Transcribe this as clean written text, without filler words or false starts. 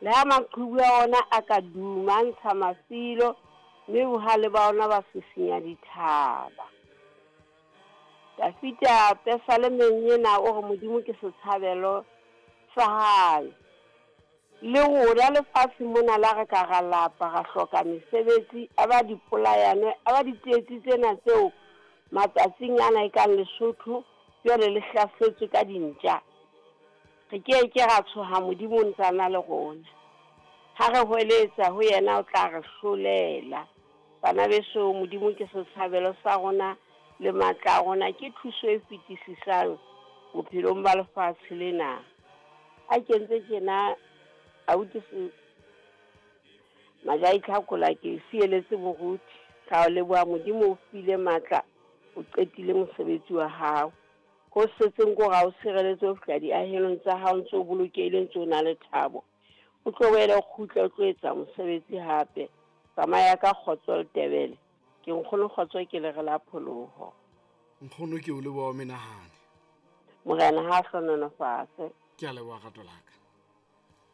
Le ha maqhubu a ona a ka duma, a ntsha mafilo, mme bohale ba ona ba sisinya dithaba. Dafita pesalemeng ena o re Modimo ke setshabelo sa hae. Le rona lefatshe mona la re ka ra lapa, ra hloka mesebetsi, a ba dipolayano, a ba ditsietsi tsena tseo matsatsing ana e kang Lesotho jwale le hlasetswe ka dintja. Re ke ke ra tshoha, Modimo o ntse a na le rona. Ha re hweletsa ho yena o tla re hlolela. Bana beso, Modimo ke setshabelo sa rona le matla a rona, ke thuso e fetisisang bophelong ba lefatshe lena. A kentse tjena abuti se Majai Tlhakola ke sieletse moruti. Ra o leboha Modimo o file matla, o qetile mosebetsi wa hao. Ho setseng ko ra o sireletse ho fihla diahelong tsa hao ntse o bolokehile ntse o na le thabo. O tlo boele o kgutle o tlo etsa mosebetsi hape. Tsamaya ka kgotso le tebele. Ke nkgono kgotso ke lere la pholoho. Nkgono ke o leboha o menahane. Morena ha hlononofatse. Ke a leboha rato la ka.